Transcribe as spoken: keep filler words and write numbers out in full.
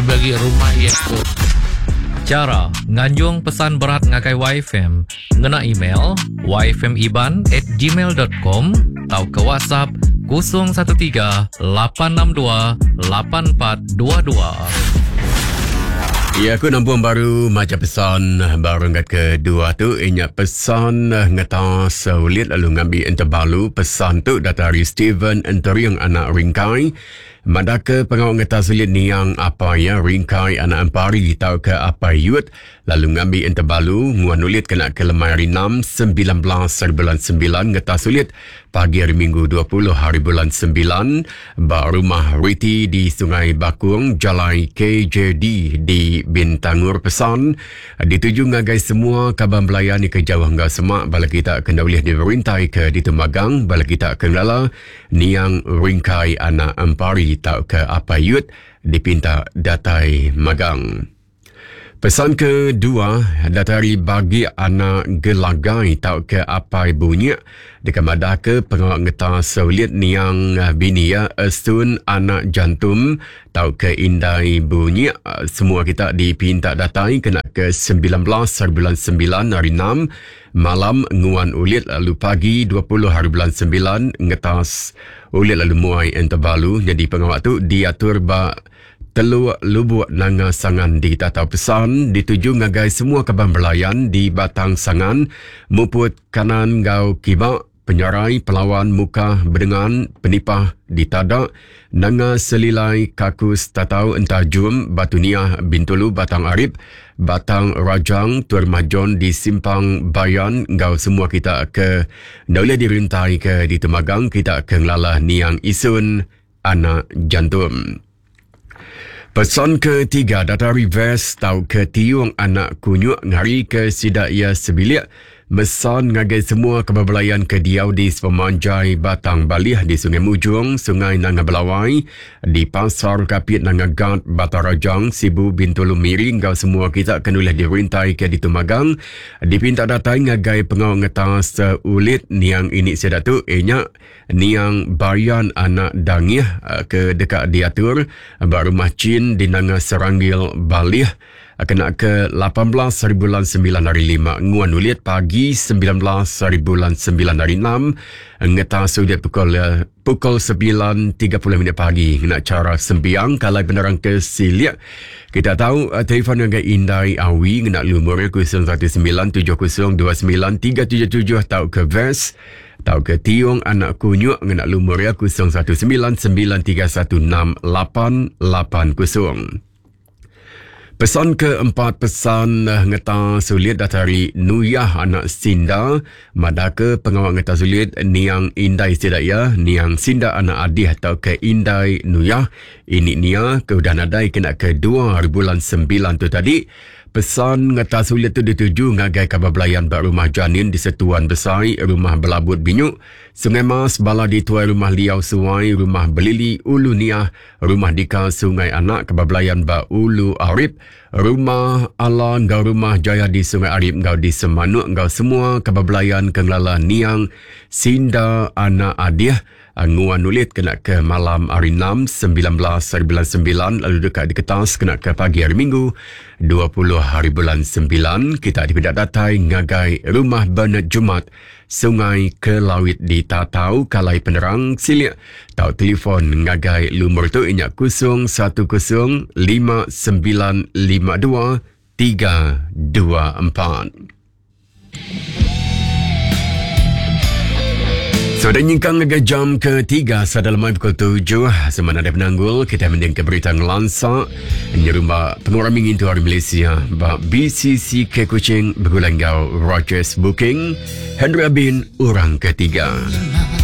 Lebih lagi rumah iya tu. Cara nganjung pesan berat ngagai Y F M ngena email y f m iban at gmail dot com atau ke WhatsApp kosong satu tiga lapan enam dua lapan empat dua dua. Ya, aku nampung baru maca pesan baru ngkat kedua tu. Inya pesan ngetas ulit lalu ngambil enterbalu. Pesan tu datari Steven Enteriang anak Ringkai. Madaka pengawal ngetas ulit niang apa ya Ringkai anak Empari tau ke apa yut lalu ngambil enterbalu nguan ulit kena ke lemai hari enam sembilan belas hari bulan sembilan ngetas ulit pagi hari Minggu dua puluh hari bulan sembilan ba rumah Riti di Sungai Bakung Jalai K J D di Bintangur. Pesan dituju ngagai semua kaban belayan ni ke jauh enggau semak bala kita kena ulih dirintai ke ditemagang bala kita ke ngelala niang Ringkai anak Empari tau ke apa yut dipinta datai magang. Pesan kedua datari bagi anak gelagai tau ke apai bunyi dekat madah ke pengawal ngetas ulit niang bini ya Estun anak jantum tau ke indai bunyi. Semua kita dipinta datai kena ke sembilan belas hari bulan sembilan hari enam malam nguan ulit lalu pagi dua puluh hari bulan sembilan ngetas ulit lalu muai enterbalu. Jadi pengawal tu diatur ba Teluk Lubuk Nanga Sangan di Tatau. Pesan dituju ngagai semua kaban belayan di Batang Sangan, Muput Kanan Gau Kibak, Penyarai, Pelawan, Muka, Bedengan, Penipah, Ditadak, Nanga Selilai, Kakus, Tatau, Entajum, Batu Niah, Bintulu, Batang Arip, Batang Rajang, Tuan Majon di Simpang Bayan, ngau semua kita ke Daulah dirintai ke di Temagang, kita ke Ngelalah Niang Isun, Anak Jantum. Pesan ketiga datari Vest tau ke tiung anak kunyuk ngari ke sidak ia sebilik mesan ngagai semua kebabalayan ke diau di sepemanjai Batang Balih di Sungai Mujung, Sungai Nanga Belawai, di Pasar Kapit Nanga Gat, Batang Rajang, Sibu Bintulu Miri ngau semua kita kenulah dirintai ke ditumagang dipinta datai ngagai pengawal ngetas ulit niang ini sidak tu inya niang Bayan anak Dangih ke dekat diatur ba rumah Chin di Nanga Seranggil Balih kena ke lapan belas hari bulan sembilan hari lima nguan ulit pagi sembilan belas hari bulan sembilan hari enam ngetas ulit pukul pukul sembilan tiga puluh minit pagi kena cara sembiang kalai penerang ke Siliak. Kita tahu telefon dengan Indai Awi kena lumur kosong satu sembilan tujuh kosong dua sembilan tiga tujuh tujuh tau ke Vest tau ke Tiung anak kunyuk ngena lumur ya kosong satu sembilan sembilan tiga satu enam lapan lapan kosong. Pesan keempat pesan ngetas sulit datari Nuyah anak Sinda madaka pengawal ngetas sulit niang Indai Sidaya niang Sinda anak Adih atau ke Indai Nuyah ini nia ke udah nadai kena ke dua hari bulan sembilan tu tadi. Pesan ngetas sulit tu dituju ngagai kabar belayan bak rumah Janin di Setuan Besai, rumah Belabut Binyuk, Sungai Mas, Bala di Tuai Rumah Liau Suai, Rumah Belili Ulu Niah, Rumah Dika Sungai Anak, kabar belayan bak Ulu Arip, Rumah Ala ngau Rumah Jaya di Sungai Arip ngau di Semanuk ngau semua kabar belayan kengelala niang Sinda anak Adiah nguan ulit kena ke malam hari enam sembilan belas hari bulan sembilan lalu dekat di Ketas kena ke pagi hari Minggu dua puluh hari bulan sembilan kita dipidak datai ngagai Rumah Bernard Jumat Sungai Kelawit di Tatau Kalai Penerang Silik tau telefon ngagai lumur tu inyak kosong satu kosong lima sembilan lima dua tiga dua empat. Sudah nyingkang ke jam ketiga sadalam pukul tujuh semana ada penanggul kita mending ke berita ngelansa nyerumba pengurang mingin tu hari Malaysia ba B C C K Kuching bergulang gau Rogers Booking Henry Abin orang ketiga.